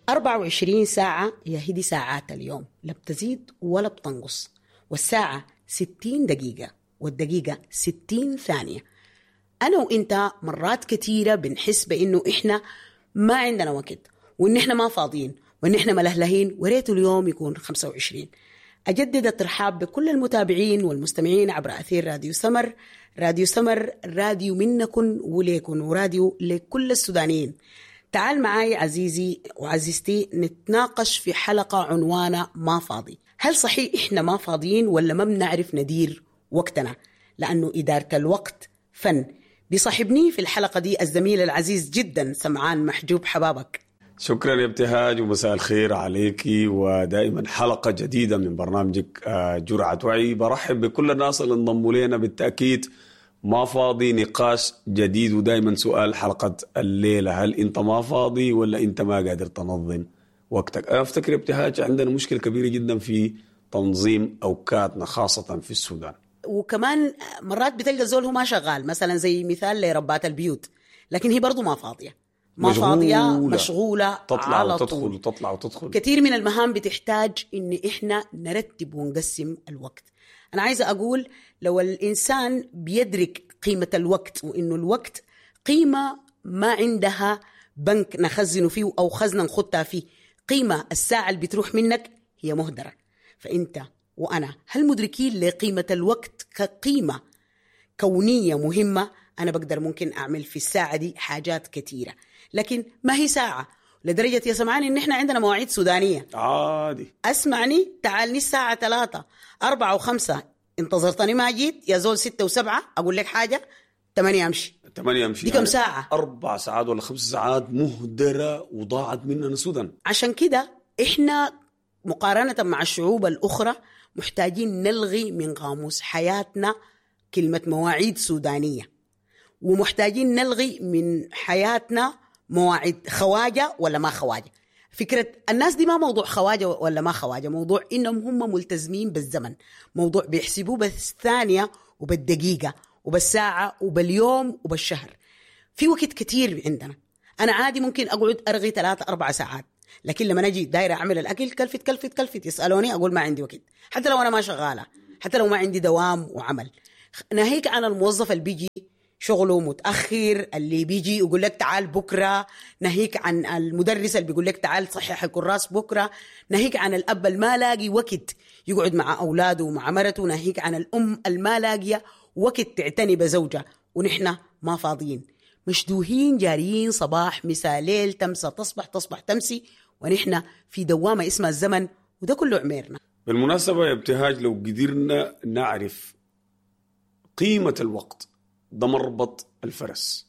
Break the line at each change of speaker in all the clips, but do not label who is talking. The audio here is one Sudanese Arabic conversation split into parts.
24 ساعة يا هي دي ساعات اليوم، لا بتزيد ولا بتنقص، والساعة 60 دقيقة والدقيقة 60 ثانية. أنا وإنت مرات كثيرة بنحس بإنه إحنا ما عندنا وقت، وإن إحنا ما فاضيين، وإن إحنا ملهلهين، وريت اليوم يكون 25. أجدد الترحاب بكل المتابعين والمستمعين عبر أثير راديو سمر. راديو سمر راديو منكن وليكن، وراديو لكل السودانيين. تعال معاي عزيزي وعزيزتي نتناقش في حلقة عنوانها ما فاضي. هل صحيح إحنا ما فاضيين ولا ما بنعرف ندير وقتنا؟ لأنه إدارة الوقت فن. بيصاحبني في الحلقة دي الزميل العزيز جدا سمعان محجوب. حبابك.
شكرا يا ابتهاج ومساء الخير عليكي، ودائما حلقة جديدة من برنامجك جرعة وعي. برحب بكل الناس اللي انضموا لنا. بالتأكيد ما فاضي نقاش جديد، ودائما سؤال حلقة الليلة: هل انت ما فاضي ولا انت ما قادر تنظم وقتك؟ انا افتكر ابتهاج عندنا مشكلة كبيرة جدا في تنظيم اوقاتنا، خاصة في السودان.
وكمان مرات بتلقى زول هو ما شغال، مثلا زي مثال لربات البيوت، لكن هي برضو ما فاضية، ما فاضية، مشغولة،
تطلع على وتدخل طول. وتطلع وتدخل.
كثير من المهام بتحتاج إن إحنا نرتب ونقسم الوقت. أنا عايزة أقول لو الإنسان بيدرك قيمة الوقت، وإنه الوقت قيمة ما عندها بنك نخزنه فيه أو خزنة نخطها فيه، قيمة الساعة اللي بتروح منك هي مهدرة. فأنت وأنا هل مدركين لقيمة الوقت كقيمة كونية مهمة؟ أنا بقدر ممكن أعمل في الساعة دي حاجات كثيرة، لكن ما هي ساعة لدرجة يا سمعاني إن إحنا عندنا مواعيد سودانية
عادي.
أسمعني، تعالني الساعة 3 4 و5، انتظرتني ما جيت يا زول 6 و7، أقول لك حاجة 8 أمشي.
8 أمشي.
دي كم ساعة؟
4 ساعات ولا 5 ساعات مهدرة وضاعت مننا السودان.
عشان كده إحنا مقارنة مع الشعوب الأخرى محتاجين نلغي من قاموس حياتنا كلمة مواعيد سودانية، ومحتاجين نلغي من حياتنا مواعيد خواجة ولا ما خواجة. فكرة الناس دي ما موضوع خواجة ولا ما خواجة، موضوع إنهم هم ملتزمين بالزمن، موضوع بيحسبوه بالثانية وبالدقيقة وبالساعة وباليوم وبالشهر. في وقت كتير عندنا. أنا عادي ممكن أقعد أرغي 3-4 ساعات، لكن لما أجي دايرة أعمل الأكل كلفت كلفت كلفت، يسألوني أقول ما عندي وقت، حتى لو أنا ما شغالة، حتى لو ما عندي دوام وعمل. ناهيك عن الموظف اللي بيجي شغله متأخر، اللي بيجي يقول لك تعال بكرة، ناهيك عن المدرس اللي بيقول لك تعال صحح الكراس بكرة، ناهيك عن الأب الما لاقي وقت يقعد مع أولاده ومع مرته، ناهيك عن الأم الما لاقية وقت تعتني بزوجها. ونحن ما فاضيين، مشدوهين جاريين صباح مساء ليل، تمسى تصبح تصبح تمسي، ونحن في دوامة اسمها الزمن، وده كله عميرنا.
بالمناسبة يا ابتهاج، لو قدرنا نعرف قيمة الوقت ده مربط الفرس،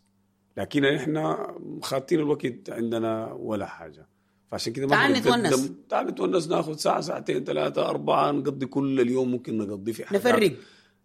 لكن احنا خاطين الوقت عندنا ولا حاجة، فعشان كده ما
تعال نتونس،
تعال نتونس، ناخذ ساعة ساعتين 3 4، نقضي كل اليوم، ممكن نقضي في حاجات،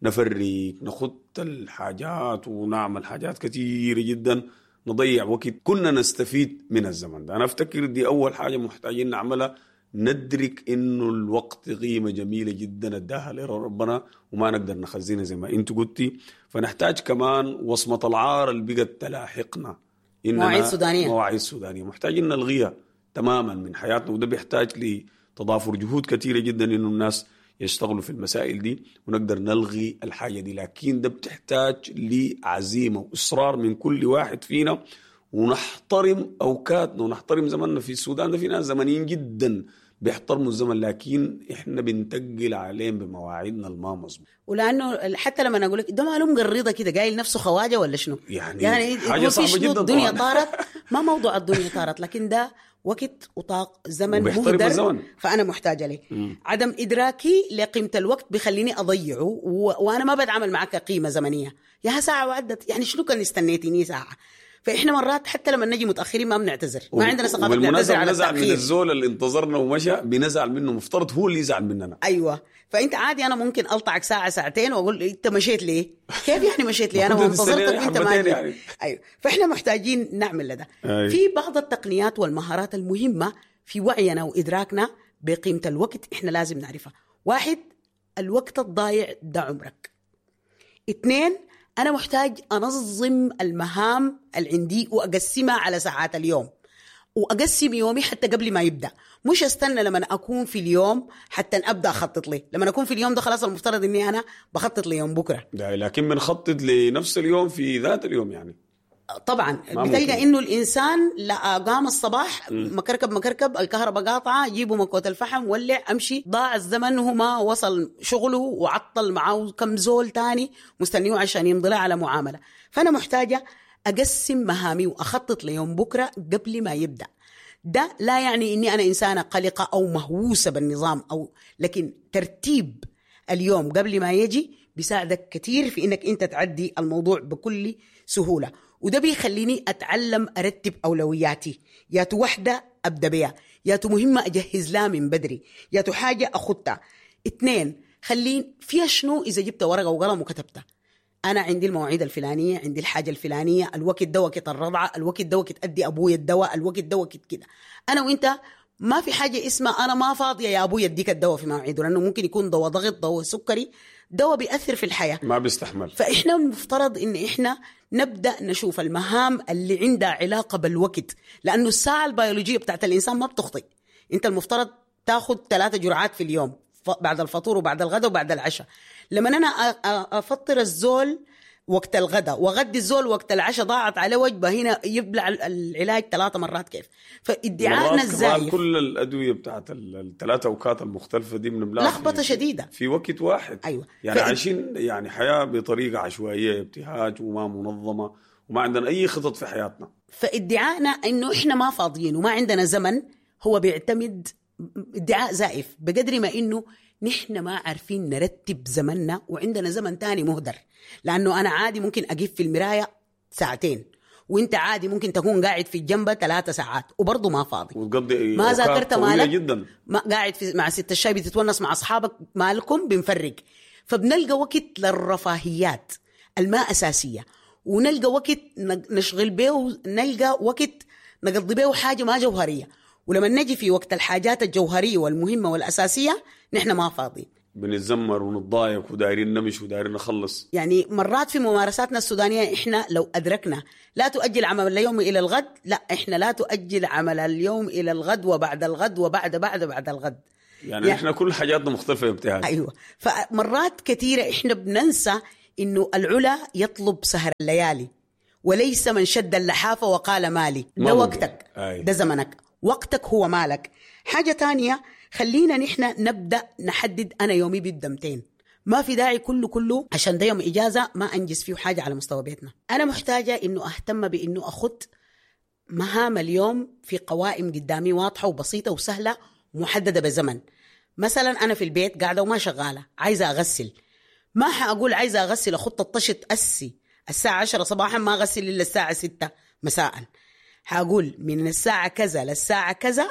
نفرق نخط الحاجات ونعمل حاجات كثيرة جدا، نضيع وقت كنا نستفيد من الزمن ده. أنا أفتكر دي أول حاجة محتاجين نعملها، ندرك إنه الوقت قيمة جميلة جدا اداها لربنا وما نقدر نخزنها زي ما أنت قلتي. فنحتاج كمان وصمة العار اللي بقت تلاحقنا،
مواعيد سودانية،
مواعيد سودانية محتاجين نلغيها تماما من حياتنا، وده بيحتاج لتضافر جهود كثيرة جدا إنه الناس يشتغلوا في المسائل دي ونقدر نلغي الحاجة دي. لكن ده بتحتاج لعزيمة وإصرار من كل واحد فينا، ونحترم أوقاتنا ونحترم زمننا. في السودان ده في ناس زمنيين جدا بيحترموا الزمن، لكن إحنا بنتقل عليهم بمواعيدنا الما مظبوط.
ولأنه حتى لما أقول لك ده ماله مقرضة كده، قايل نفسه خواجة ولا شنو،
يعني حاجة صعبة جدا.
الدنيا طارت، ما موضوع الدنيا طارت، لكن ده وقت وطاق زمن مهدر، فأنا محتاجة ليه. عدم إدراكي لقيمة الوقت بيخليني أضيعه، وأنا ما بتعامل معك قيمة زمنية. يا ساعة وعدت، يعني شنو كان استنيتيني ساعة؟ فإحنا مرات حتى لما نجي متأخرين ما بنعتذر، ما عندنا ثقافة نعتذر على التأخير.
من الزول اللي انتظرنا ومشى بنزعل منه، مفترض هو اللي يزعل مننا.
أيوة، فأنت عادي أنا ممكن ألطعك ساعة ساعتين وأقول أنت مشيت ليه؟ كيف يعني مشيت ليه؟ أنا ما انتظرتك وأنت ما جيت. يعني. أيوة، فإحنا محتاجين نعمل ده. أيوة. في بعض التقنيات والمهارات المهمة في وعينا وإدراكنا بقيمة الوقت إحنا لازم نعرفها. 1، الوقت الضايع ده عمرك. 2، أنا محتاج أنظم المهام اللي عندي وأقسمها على ساعات اليوم. واقسم يومي حتى قبل ما يبدا، مش استنى لما اكون في اليوم حتى ابدا اخطط لي. لما اكون في اليوم ده خلاص المفترض اني انا بخطط ليوم بكره.
ده لكن بنخطط لنفس اليوم في ذات اليوم يعني.
طبعا بتلقى انه الانسان لا قام الصباح مكركب مكركب، الكهرباء قاطعه، جيبوا مكوة الفحم، ولع، امشي، ضاع الزمن وهو ما وصل شغله وعطل معاه كم زول تاني مستنيه عشان يمضي على معاملة. فانا محتاجه اقسم مهامي واخطط ليوم بكره قبل ما يبدا. ده لا يعني اني انا انسانه قلقه او مهووسه بالنظام او، لكن ترتيب اليوم قبل ما يجي بيساعدك كثير في انك انت تعدي الموضوع بكل سهولة. وده بيخليني اتعلم ارتب اولوياتي، ياتو وحده ابدا بيها، ياتو مهمة اجهز لها من بدري، ياتو حاجة اخدتها. 2، خليني فيها شنو اذا جبت ورقة وقلم وكتبتها. انا عندي المواعيد الفلانية، عندي الحاجة الفلانية، الوقت ده وقت الرضعه، الوقت ده وقت ادي ابويا الدواء، الوقت ده وقت كده. انا وانت ما في حاجة اسمها انا ما فاضية يا ابويا اديك الدواء في مواعيده، لانه ممكن يكون دواء ضغط، دواء سكري، دواء بيأثر في الحياة،
ما بيستحمل.
فاحنا المفترض ان احنا نبدا نشوف المهام اللي عندها علاقة بالوقت، لانه الساعة البيولوجية بتاعت الانسان ما بتخطئ. انت المفترض تاخذ 3 جرعات في اليوم، بعد الفطور وبعد الغداء وبعد العشاء. لما انا افطر الزول وقت الغداء واغدي الزول وقت العشاء، ضاعت عليه وجبة، هنا يبلع العلاج 3 مرات كيف؟ فادعائنا الزايف
كل الادوية بتاعت الثلاث اوقات المختلفة دي بنبلعها
لخبطة شديدة
في وقت واحد.
ايوه،
يعني عايشين يعني حياة بطريقة عشوائية، ابتهاج وما منظمة، وما عندنا اي خطط في حياتنا.
فادعائنا انه احنا ما فاضيين وما عندنا زمن هو بيعتمد ادعاء زائف، بقدر ما انه نحن ما عارفين نرتب زمننا وعندنا زمن تاني مهدر. لأنه أنا عادي ممكن أقف في المراية 2 ساعات، وانت عادي ممكن تكون قاعد في الجنبة 3 ساعات وبرضه ما فاضي،
وتقضي
ما ذاكرت مالك
جدا،
ما قاعد في مع ست الشاي بتتونس مع أصحابك، مالكم بنفرق. فبنلقى وقت للرفاهيات الما أساسية، ونلقى وقت نشغل به، نلقى وقت نقضي به حاجة ما جوهرية. ولما نجي في وقت الحاجات الجوهرية والمهمة والأساسية نحن ما فاضيين،
بنتذمر ونتضايق ودايرين نمشي ودايرين نخلص.
يعني مرات في ممارساتنا السودانية إحنا لو أدركنا لا تؤجل عمل اليوم إلى الغد، لا إحنا لا تؤجل عمل اليوم إلى الغد وبعد الغد وبعد بعد بعد الغد.
يعني إحنا كل حاجاتنا مختلفة يا ابتهاج.
أيوة، فمرات كثيرة إحنا بننسى إنه العلا يطلب سهر الليالي وليس من شد اللحافة وقال مالي. ده وقتك، ده زمنك، وقتك هو مالك. حاجة تانية، خلينا نحن نبدأ نحدد أنا يومي بيبدأ 200. ما في داعي كله عشان ده يوم إجازة ما أنجز فيه حاجة على مستوى بيتنا. أنا محتاجة إنه أهتم بإنه أخذ مهام اليوم في قوائم قدامي واضحة وبسيطة وسهلة ومحددة بزمن. مثلا أنا في البيت قاعدة وما شغالة، عايزة أغسل، ما حأقول عايزة أغسل أخط الطشت أسي الساعة 10 صباحا ما أغسل إلا الساعة 6 مساء. حأقول من الساعة كذا للساعة كذا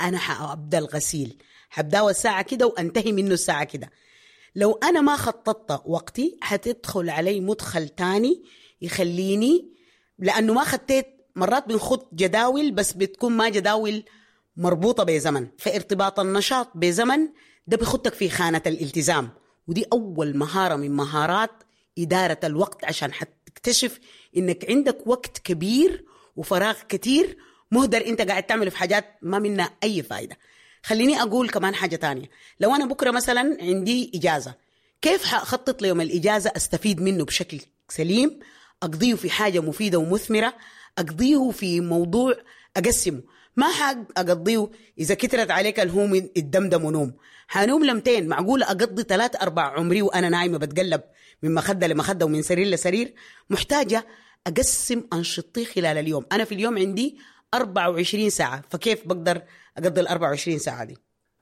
أنا حأبدأ الغسيل، حبدأه الساعة كده وأنتهي منه الساعة كده. لو أنا ما خططت وقتي حتدخل علي مدخل تاني يخليني، لأنه ما خطيت. مرات بنخط جداول بس بتكون ما جداول مربوطة بزمن، فارتباط النشاط بزمن ده بيخطك في خانة الالتزام، ودي أول مهارة من مهارات إدارة الوقت، عشان حتكتشف إنك عندك وقت كبير وفراغ كتير مهدر انت قاعد تعمله في حاجات ما منها اي فايدة. خليني اقول كمان حاجة تانية، لو انا بكرة مثلا عندي اجازة، كيف حخطط ليوم الاجازة استفيد منه بشكل سليم، اقضيه في حاجة مفيدة ومثمرة، اقضيه في موضوع اقسمه، ما حقضيه اذا كترت عليك الهوم الدمدم ونوم. حنوم لمتين؟ معقولة اقضي 3-4 عمري وانا نايمة بتقلب من مخدة لمخدة ومن سرير لسرير؟ محتاجة أقسم أنشطتي خلال اليوم. أنا في اليوم عندي 24 ساعة، فكيف بقدر أقضي 24 ساعة دي؟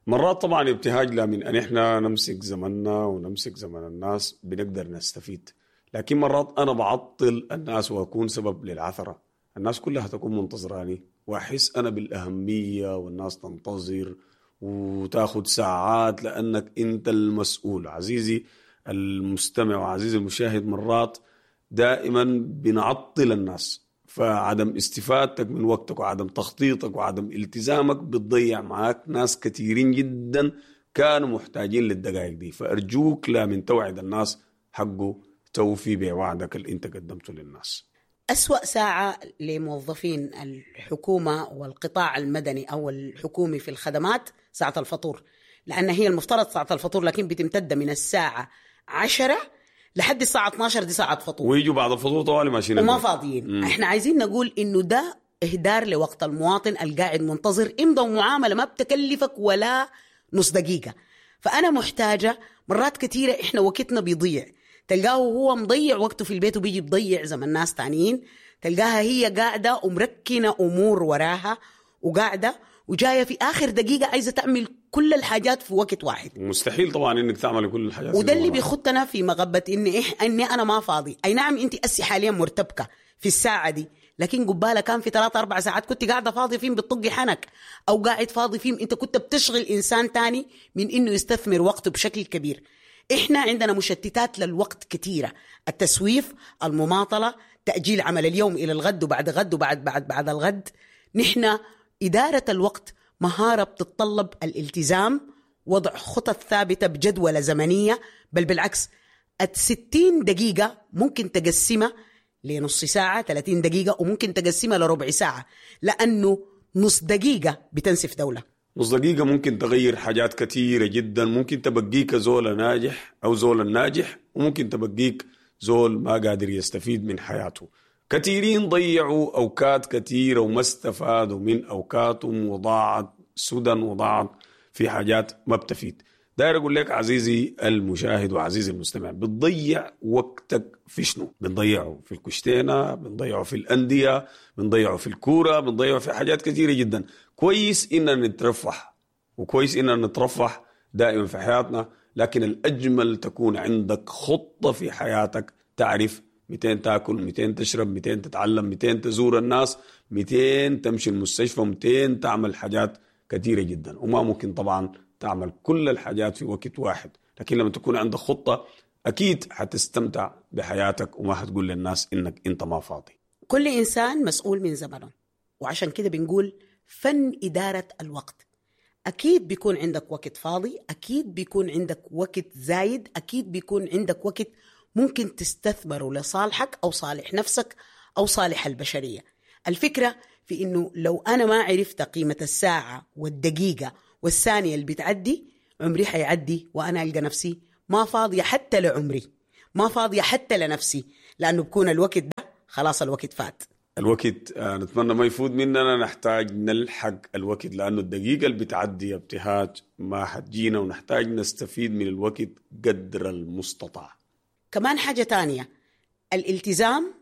مرات طبعا ابتهاج لا من أن إحنا نمسك زمننا ونمسك زمن الناس بنقدر نستفيد، لكن مرات أنا بعطل الناس وأكون سبب للعثرة. الناس كلها تكون منتظراني وأحس أنا بالأهمية والناس تنتظر وتاخد ساعات لأنك أنت المسؤول. عزيزي المستمع وعزيزي المشاهد، مرات دائما بنعطل الناس، فعدم استفادتك من وقتك وعدم تخطيطك وعدم التزامك بتضيع معاك ناس كثيرين جدا كانوا محتاجين للدقائق دي. فأرجوك لا من توعد الناس حقه توفي بوعدك اللي انت قدمته للناس.
أسوأ ساعة لموظفين الحكومة والقطاع المدني أو الحكومي في الخدمات ساعة الفطور، لأن هي المفترض ساعة الفطور لكن بتمتد من الساعة 10 لحد الساعة 12، دي ساعة فطور،
ويجوا بعد الفطور طوالي ماشيين
وما فاضيين. احنا عايزين نقول إنه ده إهدار لوقت المواطن القاعد منتظر إمضى ومعاملة ما بتكلفك ولا نص دقيقة. فأنا محتاجة مرات كثيرة إحنا وقتنا بيضيع، تلقاه هو مضيع وقته في البيت وبيجي بضيع زمن ناس تانيين، تلقاها هي قاعدة ومركنة أمور وراها وقاعدة وجاية في آخر دقيقة عايزة تعمل كل الحاجات في وقت واحد.
مستحيل طبعا إنك تعمل كل الحاجات،
وده اللي بيخطنا في مغبة إني أنا ما فاضي. أي نعم أنت أسي حاليا مرتبكة في الساعة دي، لكن قبالة كان في 3-4 ساعات كنت قاعدة فاضي فيهم بتطقي حنك، أو قاعد فاضي فيهم أنت كنت بتشغل إنسان تاني من إنه يستثمر وقته بشكل كبير. إحنا عندنا مشتتات للوقت كثيرة، التسويف، المماطلة، تأجيل عمل اليوم إلى الغد وبعد غد وبعد بعد بعد الغد. نحن إدارة الوقت مهارة بتتطلب الالتزام، وضع خطط ثابتة بجدولة زمنية، بل بالعكس 60 دقيقة ممكن تقسمها لنص ساعة، 30 دقيقة، وممكن تقسمها لربع ساعة، لأنه نص دقيقة بتنسف دولة.
نص دقيقة ممكن تغير حاجات كثيرة جدا، ممكن تبقيك زول ناجح أو زول ناجح، وممكن تبقيك زول ما قادر يستفيد من حياته. كثيرين ضيعوا أوقات كثيرة وما استفادوا من أوقاتهم، وضاعت سدى وضاعت في حاجات ما بتفيد. داير أقول لك عزيزي المشاهد وعزيزي المستمع، بتضيع وقتك في شنو؟ بنضيعه في الكشتينة، بنضيعه في الأندية، بنضيعه في الكورة، بنضيعه في حاجات كثيرة جدا. كويس إننا نترفه، وكويس إننا نترفه دائما في حياتنا، لكن الأجمل تكون عندك خطة في حياتك، تعرف 200 تاكل، 200 تشرب، 200 تتعلم، 200 تزور الناس، 200 تمشي المستشفى، 200 تعمل حاجات كثيرة جدا. وما ممكن طبعا تعمل كل الحاجات في وقت واحد، لكن لما تكون عندك خطة أكيد حتستمتع بحياتك وما حتقول للناس إنك أنت ما فاضي.
كل إنسان مسؤول من زمنه، وعشان كده بنقول فن إدارة الوقت. أكيد بيكون عندك وقت فاضي، أكيد بيكون عندك وقت زايد، أكيد بيكون عندك وقت ممكن تستثمره لصالحك أو صالح نفسك أو صالح البشرية. الفكرة في إنه لو أنا ما عرفت قيمة الساعة والدقيقة والثانية اللي بتعدي، عمري حيعدي وأنا ألقى نفسي ما فاضية حتى لعمري، ما فاضية حتى لنفسي، لأنه بكون الوقت ده خلاص الوقت فات.
الوقت نتمنى ما يفوت مننا، نحتاج نلحق الوقت، لأنه الدقيقة اللي بتعدي ابتهاج ما حتجينا، ونحتاج نستفيد من الوقت قدر المستطاع.
كمان حاجة تانية، الالتزام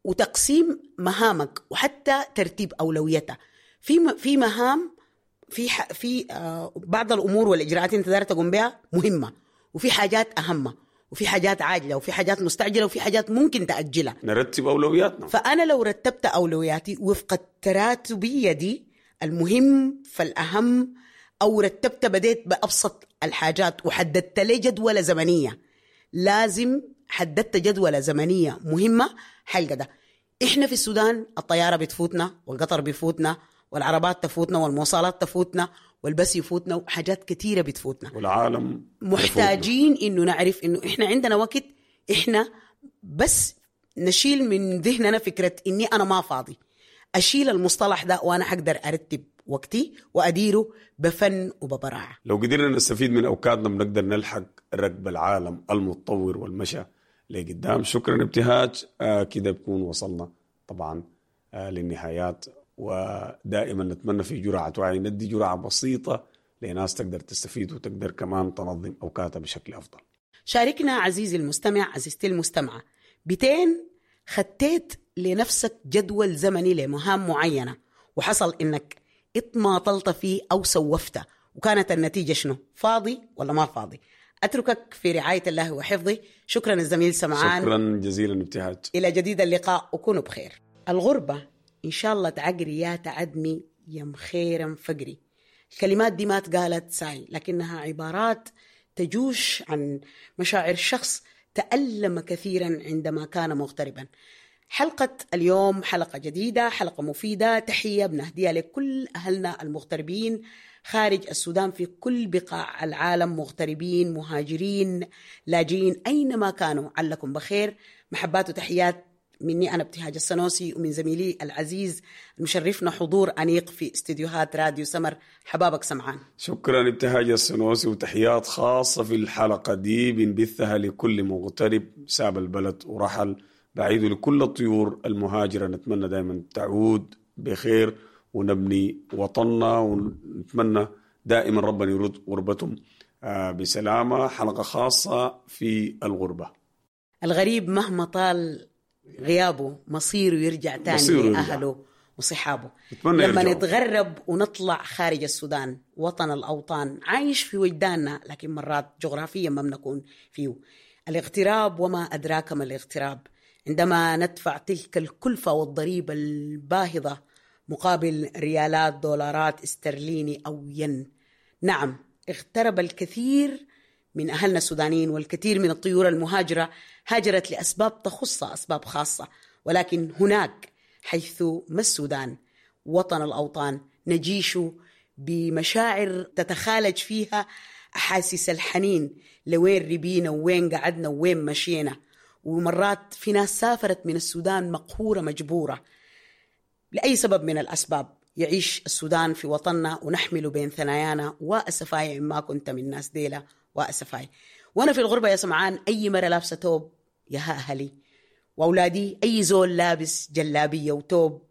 وتقسيم مهامك وحتى ترتيب أولويتها. في مهام، في بعض الأمور والإجراءات أنت داير تقوم بها مهمة، وفي حاجات أهم، وفي حاجات عاجلة، وفي حاجات مستعجلة، وفي حاجات ممكن تأجلها.
نرتب أولوياتنا.
فأنا لو رتبت أولوياتي وفق التراتبية دي، المهم فالأهم، أو رتبت بديت بأبسط الحاجات وحددت لي جدولة زمنية، لازم حددت جدولة زمنية مهمة حلقة ده. إحنا في السودان الطيارة بتفوتنا، والقطر بيفوتنا، والعربات تفوتنا، والمواصلات تفوتنا، والبس يفوتنا، وحاجات كثيرة بتفوتنا،
والعالم
محتاجين إنه نعرف إنه إحنا عندنا وقت. إحنا بس نشيل من ذهننا فكرة إني أنا ما فاضي، أشيل المصطلح ده وأنا حقدر أرتب وقتي وأديره بفن وببراعة.
لو قدرنا نستفيد من أوقاتنا بنقدر نلحق ركب العالم المتطور والمشى لقدام. شكرا ابتهاج. كده بكون وصلنا طبعا للنهايات، ودائما نتمنى في جرعة وعي، ندي جرعة بسيطة لناس تقدر تستفيد وتقدر كمان تنظم أوقاتها بشكل أفضل.
شاركنا عزيزي المستمع، عزيزتي المستمعة، بتين خطيت لنفسك جدول زمني لمهام معينة وحصل إنك اتماطلت فيه أو سوفته، وكانت النتيجة شنو؟ فاضي ولا ما فاضي؟ أتركك في رعاية الله وحفظه. شكرا الزميل سمعان،
شكرا جزيلا ابتهاج.
إلى جديد اللقاء وكونوا بخير. الغربة إن شاء الله تعقري يا تعدمي يم خيرا فقري. الكلمات دي ما تقالت ساي، لكنها عبارات تجوش عن مشاعر شخص تألم كثيرا عندما كان مغتربا. حلقة اليوم حلقة جديدة، حلقة مفيدة، تحية بنهديها لكل أهلنا المغتربين خارج السودان في كل بقاع العالم، مغتربين، مهاجرين، لاجئين، أينما كانوا، علكم بخير. محبات وتحيات مني أنا ابتهاج السنوسي ومن زميلي العزيز المشرفنا حضور أنيق في استديوهات راديو سمر، حبابك سمعان.
شكرا ابتهاج السنوسي، وتحيات خاصة في الحلقة دي بنبثها لكل مغترب ساب البلد ورحل بعيد، لكل الطيور المهاجرة نتمنى دائما تعود بخير ونبني وطننا، ونتمنى دائما ربنا يرد غربتهم بسلامة. حلقة خاصة في الغربة.
الغريب مهما طال غيابه مصيره يرجع تاني لأهله وصحابه. لما نتغرب ونطلع خارج السودان وطن الأوطان عايش في وجداننا، لكن مرات جغرافيا ما بنكون فيه. الاغتراب وما أدراك ما الاغتراب، عندما ندفع تلك الكلفة والضريبة الباهظة مقابل ريالات دولارات استرليني أو ين. نعم، اغترب الكثير من أهلنا السودانيين، والكثير من الطيور المهاجرة هاجرت لأسباب تخصها، أسباب خاصة، ولكن هناك حيث ما السودان وطن الأوطان نجيش بمشاعر تتخالج فيها أحاسيس الحنين لوين ربينا وين قعدنا وين مشينا. ومرات في ناس سافرت من السودان مقهورة مجبورة لأي سبب من الأسباب. يعيش السودان في وطننا ونحمله بين ثنايانا، وأسفاي ما كنت من ناس ديلة وأسفاي. وأنا في الغربة يا سمعان أي مرة لابسة توب يا أهلي وأولادي، أي زول لابس جلابية وتوب،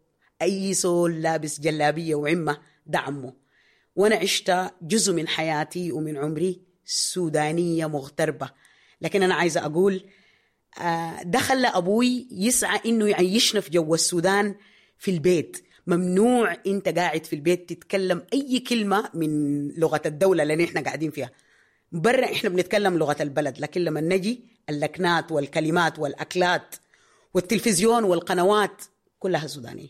أي زول لابس جلابية وعمة ده عمه. وأنا عشت جزء من حياتي ومن عمري سودانية مغتربة، لكن أنا عايزة أقول ده خلى أبوي يسعى إنه يعيشنا في جو السودان في البيت. ممنوع أنت قاعد في البيت تتكلم أي كلمة من لغة الدولة اللي إحنا قاعدين فيها. برا إحنا بنتكلم لغة البلد، لكن لما نجي اللكنات والكلمات والأكلات والتلفزيون والقنوات كلها سودانية.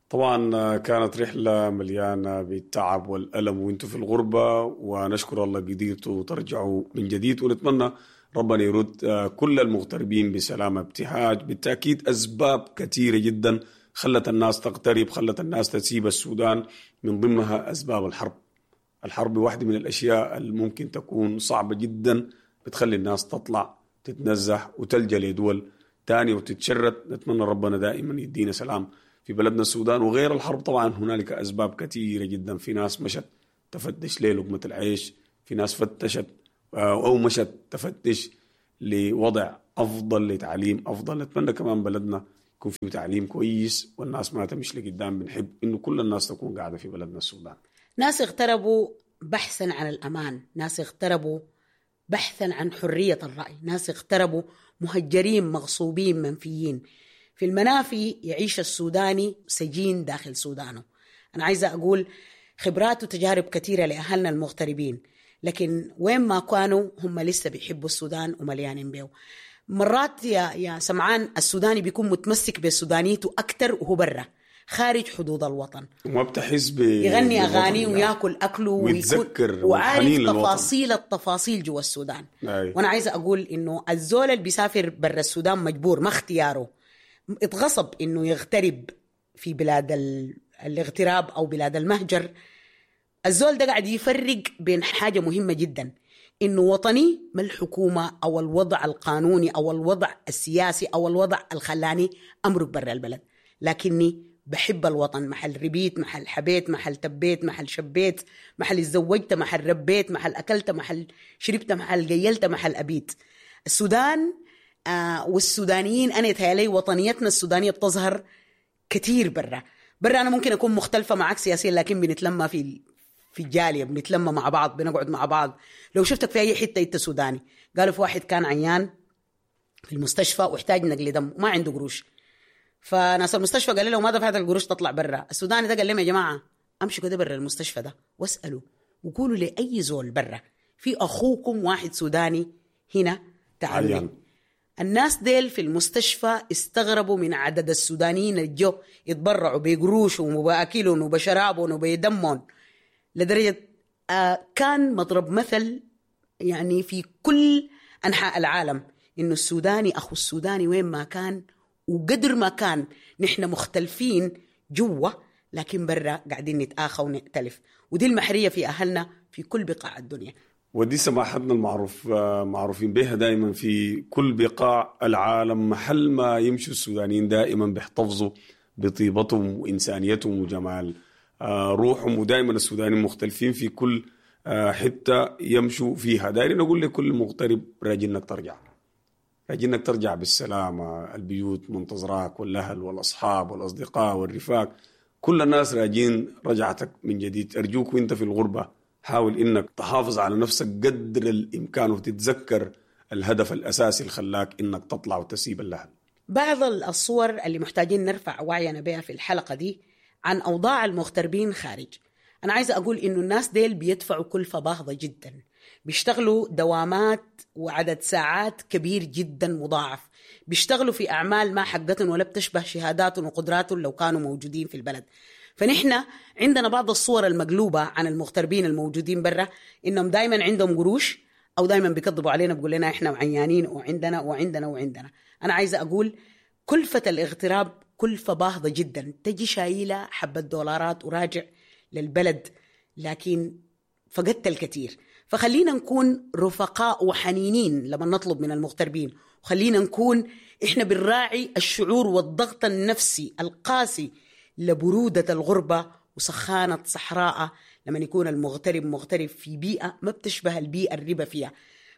طبعا كانت رحلة مليانة بالتعب والألم وانتم في الغربة، ونشكر الله قدرتوا ترجعوا من جديد، ونتمنى ربنا يرد كل المغتربين بسلامة. ابتهاج، بالتأكيد أسباب كثيرة جدا خلت الناس تغترب، خلت الناس تسيب السودان، من ضمنها أسباب الحرب. الحرب واحدة من الأشياء الممكن تكون صعبة جدا، بتخلي الناس تطلع تتنزح وتلجأ لدول تانية وتتشرد. نتمنى ربنا دائما يدينا سلام في بلدنا السودان. وغير الحرب طبعا هنالك أسباب كثيرة جدا. في ناس مشت تفتش للقمة العيش، في ناس فتشت أو مشت تفتش لوضع أفضل، لتعليم أفضل. نتمنى كمان بلدنا يكون فيه تعليم كويس والناس ما تمشي لقدام. بنحب إنه كل الناس تكون قاعدة في بلدنا السودان.
ناس اغتربوا بحثا عن الأمان، ناس اغتربوا بحثا عن حرية الرأي، ناس اغتربوا مهجرين مغصوبين منفيين. في المنافي يعيش السوداني سجين داخل سودانه. أنا عايزة أقول خبرات وتجارب كثيرة لأهلنا المغتربين، لكن وين ما كانوا هم لسه بيحبوا السودان ومليانين بيه. مرات يا سمعان السوداني بيكون متمسك بسودانيته أكتر وهو برا خارج حدود الوطن،
وما بتحس
يغني أغاني وياكل أكله
ويتذكر
وعارف تفاصيل التفاصيل جوا السودان. أي. وأنا عايزة أقول إنه الزول اللي بيسافر برا السودان مجبور، ما اختياره، اتغصب إنه يغترب في بلاد الاغتراب أو بلاد المهجر. الزول ده قاعد يفرق بين حاجة مهمة جدا، إنه وطني ما الحكومة أو الوضع القانوني أو الوضع السياسي أو الوضع الخلاني أمرق برا البلد، لكني بحب الوطن، محل ربيت، محل حبيت، محل تبيت، محل شبيت، محل اتزوجت، محل ربيت، محل أكلت، محل شربت، محل قيلت، محل أبيت. السودان والسودانيين أنا يتهيألي وطنيتنا السودانية بتظهر كتير برا. برا أنا ممكن أكون مختلفة معك سياسيا، لكن بنتلمى في الجالية، بنتلمى مع بعض، بنقعد مع بعض. لو شفتك في أي حتة أنت سوداني. قالوا في واحد كان عيان في المستشفى واحتاج نقل دم وما عنده قروش، فناس المستشفى قال له ما دفعت القروش تطلع برا. السوداني ده قال لهم يا جماعة امشوا كده برا المستشفى ده واسألوا وقولوا لأي زول برا في أخوكم واحد سوداني هنا تعالوا. الناس ديل في المستشفى استغربوا من عدد السودانيين اللي جو يتبرعوا بقروشهم وبأكلهم وبشرابهم وبدمهم، لدرجة كان مضرب مثل يعني في كل أنحاء العالم إنه السوداني أخو السوداني وين ما كان، وقدر ما كان نحن مختلفين جوا لكن برا قاعدين نتآخى ونختلف. ودي المحرية في أهلنا في كل بقاع الدنيا.
ودي سماحتنا المعروف معروفين بها دائما في كل بقاع العالم. محل ما يمشوا السودانيين دائما بيحتفظوا بطيبتهم وإنسانيتهم وجمال روحهم، ودائما السودانيين مختلفين في كل حتة يمشوا فيها. دايرين نقول لكل مغترب راجي انك ترجع، راجي انك ترجع بالسلامة. البيوت منتظراك، والأهل والأصحاب والأصدقاء والرفاق، كل الناس راجين رجعتك من جديد. أرجوك وانت في الغربة حاول انك تحافظ على نفسك قدر الامكان، وتتذكر الهدف الاساسي اللي خلاك انك تطلع وتسيب الاهل.
بعض الصور اللي محتاجين نرفع وعينا بها في الحلقة دي عن أوضاع المغتربين خارج. أنا عايزة أقول إنه الناس ديل بيدفعوا كلفة باهظة جدا، بيشتغلوا دوامات وعدد ساعات كبير جدا مضاعف، بيشتغلوا في أعمال ما حقتهم ولا بتشبه شهاداتهم وقدراتهم لو كانوا موجودين في البلد. فنحن عندنا بعض الصور المقلوبة عن المغتربين الموجودين برا، إنهم دايما عندهم قروش أو دايما بيكذبوا علينا بيقول لنا إحنا عيانين وعندنا وعندنا وعندنا. أنا عايزة أقول كلفة الاغتراب كلفة باهظة جدا، تجي شايلة حبة دولارات وراجع للبلد لكن فقدت الكثير. فخلينا نكون رفقاء وحنينين لما نطلب من المغتربين، وخلينا نكون إحنا بنراعي الشعور والضغط النفسي القاسي لبرودة الغربة وسخانة صحراء لما يكون المغترب مغترب في بيئة ما بتشبه البيئة الربا فيها،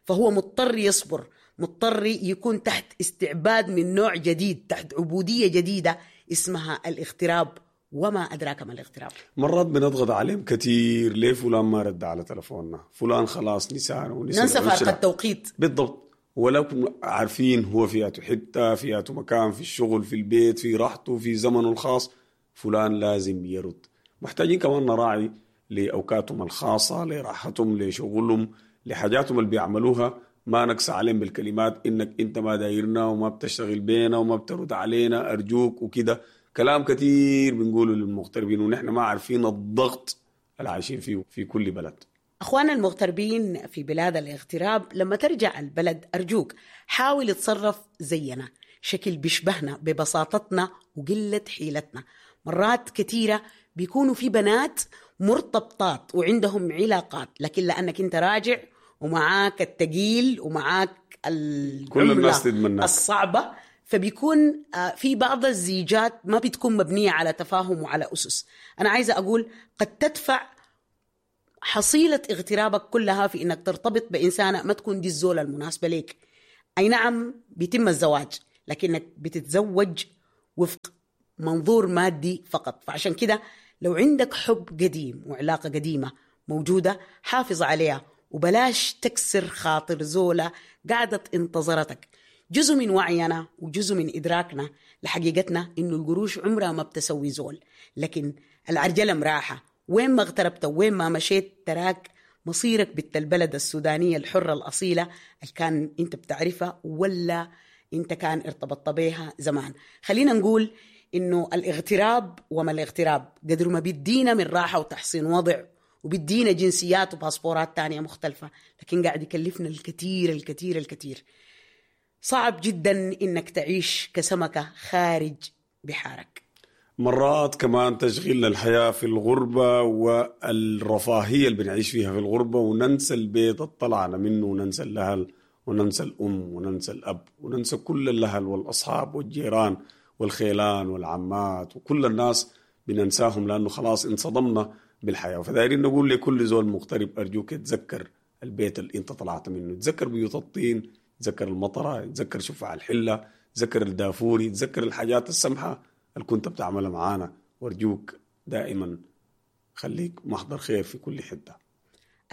فهو مضطر يصبر، مضطر يكون تحت استعباد من نوع جديد، تحت عبودية جديدة اسمها الاغتراب، وما أدراك ما الاغتراب.
مرات بنضغط عليهم كثير، ليه فلان ما رد على تلفوننا، فلان خلاص نسانا ونسي
ننسى
العشرة.
فارق التوقيت.
بالضبط، ولا كنا عارفين هو في حتة، في مكان، في الشغل، في البيت، في راحته، في زمنه الخاص، فلان لازم يرد. محتاجين كمان نراعي لأوقاتهم الخاصة، لراحتهم، لشغلهم، لحاجاتهم اللي بيعملوها. ما نقسى عليهم بالكلمات إنك أنت ما دايرنا وما بتشتغل بينا وما بترد علينا أرجوك وكده. كلام كتير بنقوله للمغتربين ونحن ما عارفين الضغط اللي عايشين فيه في كل بلد.
أخوانا المغتربين في بلاد الاغتراب، لما ترجع البلد أرجوك حاول تصرف زينا، شكل بيشبهنا ببساطتنا وقلة حيلتنا. مرات كتيرة بيكونوا في بنات مرتبطات وعندهم علاقات، لكن لأنك أنت راجع ومعاك التقيل ومعاك
كل الناس تتمناك
الصعبة، فبيكون في بعض الزيجات ما بتكون مبنية على تفاهم وعلى أسس. أنا عايزة أقول قد تدفع حصيلة اغترابك كلها في إنك ترتبط بإنسانة ما تكون دي الزولة المناسبة ليك. أي نعم بيتم الزواج، لكنك بتتزوج وفق منظور مادي فقط. فعشان كده لو عندك حب قديم وعلاقة قديمة موجودة حافظ عليها، وبلاش تكسر خاطر زولة قاعدة انتظرتك. جزء من وعينا وجزء من إدراكنا لحقيقتنا إنه القروش عمرها ما بتسوي زول، لكن العرجلة مراحة. وين ما اغتربت وين ما مشيت تراك مصيرك بنت البلد السودانية الحرة الأصيلة اللي كان أنت بتعرفها ولا أنت كان ارتبطت بيها زمان. خلينا نقول إنه الاغتراب وما الاغتراب قدر ما بيدينا من راحة وتحسين وضع وبيدينا جنسيات وباسبورات تانية مختلفة، لكن قاعد يكلفنا الكثير الكثير الكثير. صعب جدا إنك تعيش كسمكة خارج بحارك.
مرات كمان تشغيلنا الحياة في الغربة والرفاهية اللي بنعيش فيها في الغربة، وننسى البيت اللي طلعنا منه، وننسى الأهل، وننسى الأم، وننسى الأب، وننسى كل الأهل والأصحاب والجيران والخيلان والعمات وكل الناس بننساهم، لأنه خلاص انصدمنا بالحياة. فدايرين نقول لكل زول مغترب أرجوك تذكر البيت اللي انت طلعت منه، تذكر بيوت الطين، تذكر المطرة، تذكر شفع الحلة، تذكر الدافوري، تذكر الحاجات السمحة اللي كنت بتعملها معانا. وارجوك دائما خليك محضر خير في كل حتة.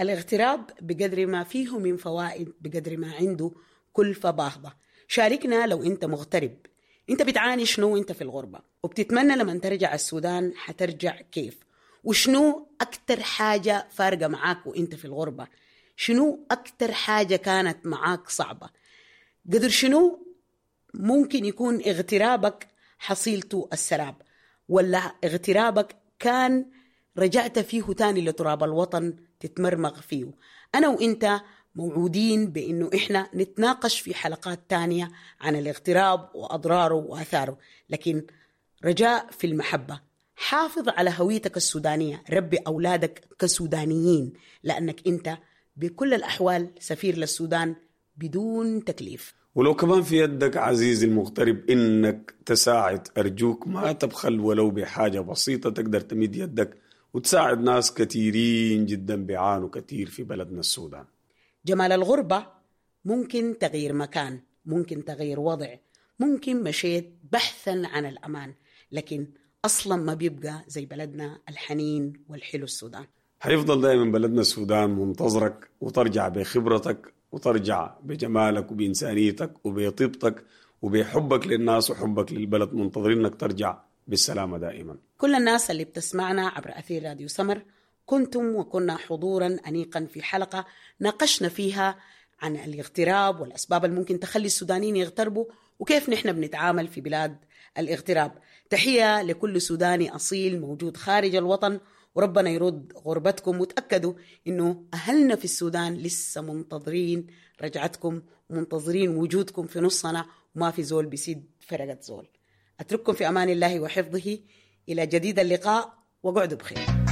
الاغتراب بقدر ما فيه من فوائد بقدر ما عنده كلفة باهظة. شاركنا لو انت مغترب، انت بتعاني شنو وانت في الغربة، وبتتمنى لما ترجع السودان حترجع كيف، وشنو أكتر حاجة فارقة معاك وانت في الغربة، شنو أكتر حاجة كانت معاك صعبة، قدر شنو ممكن يكون اغترابك حصيلته السراب، ولا اغترابك كان رجعت فيه تاني لتراب الوطن تتمرمغ فيه. أنا وإنت موعودين بأنه إحنا نتناقش في حلقات تانية عن الاغتراب وأضراره وآثاره، لكن رجاء في المحبة، حافظ على هويتك السودانية، ربي أولادك كسودانيين، لأنك أنت بكل الأحوال سفير للسودان بدون تكليف.
ولو كمان في يدك عزيزي المغترب إنك تساعد، أرجوك ما تبخل ولو بحاجة بسيطة تقدر تمد يدك وتساعد ناس كثيرين جدا بيعانوا كثير في بلدنا السودان.
جمال الغربة ممكن تغيير مكان، ممكن تغيير وضع، ممكن مشيت بحثا عن الأمان، لكن أصلا ما بيبقى زي بلدنا الحنين والحلو السودان.
حيفضل دائما بلدنا السودان منتظرك، وترجع بخبرتك وترجع بجمالك وبإنسانيتك وبطيبتك وبحبك للناس وحبك للبلد، منتظرينك ترجع بالسلامة دائما.
كل الناس اللي بتسمعنا عبر أثير راديو سمر، كنتم وكنا حضورا أنيقا في حلقة ناقشنا فيها عن الاغتراب والأسباب اللي ممكن تخلي السودانيين يغتربوا وكيف نحن بنتعامل في بلاد الاغتراب. تحية لكل سوداني أصيل موجود خارج الوطن، وربنا يرد غربتكم، وتأكدوا إنه أهلنا في السودان لسه منتظرين رجعتكم ومنتظرين وجودكم في نصنا، وما في زول بيسد فرقة زول. أترككم في أمان الله وحفظه إلى جديد اللقاء، وقعدوا بخير.